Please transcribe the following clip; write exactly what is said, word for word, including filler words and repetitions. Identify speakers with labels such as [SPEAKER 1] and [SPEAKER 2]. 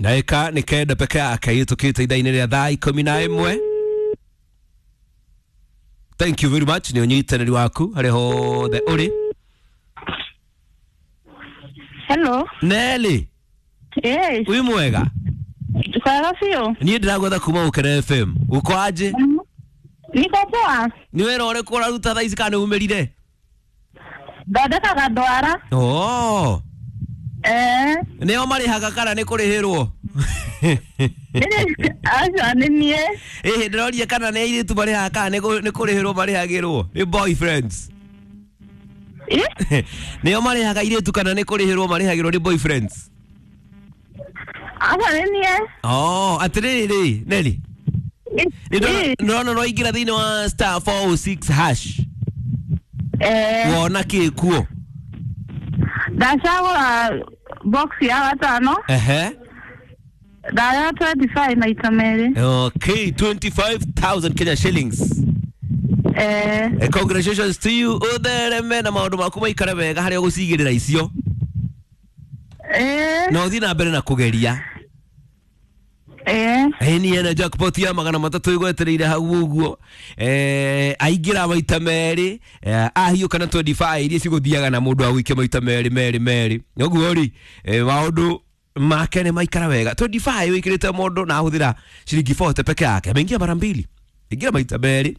[SPEAKER 1] Ndagĩka nĩ kenda peke yake ihĩtũkĩte ithaa-inĩ rĩa thaa ikũmi na ĩmwe. Thank you very much nĩ ũnyitanĩri waku harĩa hothe ũrĩ.
[SPEAKER 2] Hello.
[SPEAKER 1] Nelly.
[SPEAKER 2] Yes.
[SPEAKER 1] Wĩ mwega?
[SPEAKER 2] Kwega biũ.
[SPEAKER 1] Niĩ ndĩragwetha kuma Gũkena F M. Uko aje?
[SPEAKER 2] Niko poa.
[SPEAKER 1] Nĩ wĩra ũrĩkũ ũraruta thaa ici kana nĩ umĩrire?
[SPEAKER 2] Thondekaga ndwara.
[SPEAKER 1] Oh.
[SPEAKER 2] Eh.
[SPEAKER 1] Nĩo marĩhaga kana nĩ kũrĩhĩrwo?
[SPEAKER 2] Aca nĩ niĩ.
[SPEAKER 1] Ĩhĩ, ndĩroria kana nĩ airĩtu marĩhaga kana nĩ kũrĩhĩrwo marĩhagĩrwo? Nĩ boyfriends.
[SPEAKER 2] Ĩ?
[SPEAKER 1] Nĩo marĩhaga airĩtu kana nĩ kũrĩhĩrwo marĩhagĩrwo nĩ boyfriends?
[SPEAKER 2] Aca nĩ niĩ.
[SPEAKER 1] Oh, atĩrĩrĩ, Nelly. Nĩ ndĩrona no ingĩra thĩinĩ wa star four oh six hash.
[SPEAKER 2] Eh.
[SPEAKER 1] Wona kĩ kuo?
[SPEAKER 2] Ndacagũra box ya gatano.
[SPEAKER 1] Ehe.
[SPEAKER 2] Ndaya twenty-five maita merĩ.
[SPEAKER 1] Okay, twenty-five thousand Kenya shillings.
[SPEAKER 2] Eh.
[SPEAKER 1] Eh, congratulations to you. Uthereme na maũndũ maku maikare wega harĩa ũgũcigĩrĩra icio.
[SPEAKER 2] Eh.
[SPEAKER 1] Na ũthiĩ na mbere na kũgeria.
[SPEAKER 2] Eh.
[SPEAKER 1] Eh, ni ena jackpot ya magana matatu igwetereire hau ũguo. Eh, aingĩra maita merĩ, eh, ahiũka na twenty-five iria cigũthiaga na mũndũ agũikia maita merĩ merĩ merĩ. Ũguo rĩ, eh, maũndũ make nĩ maikara wega. twenty-five wĩkĩrĩte mũndũ na ahũthĩra ciringi forty peke yake. Ameingia mara mbili. Ingira maita merĩ.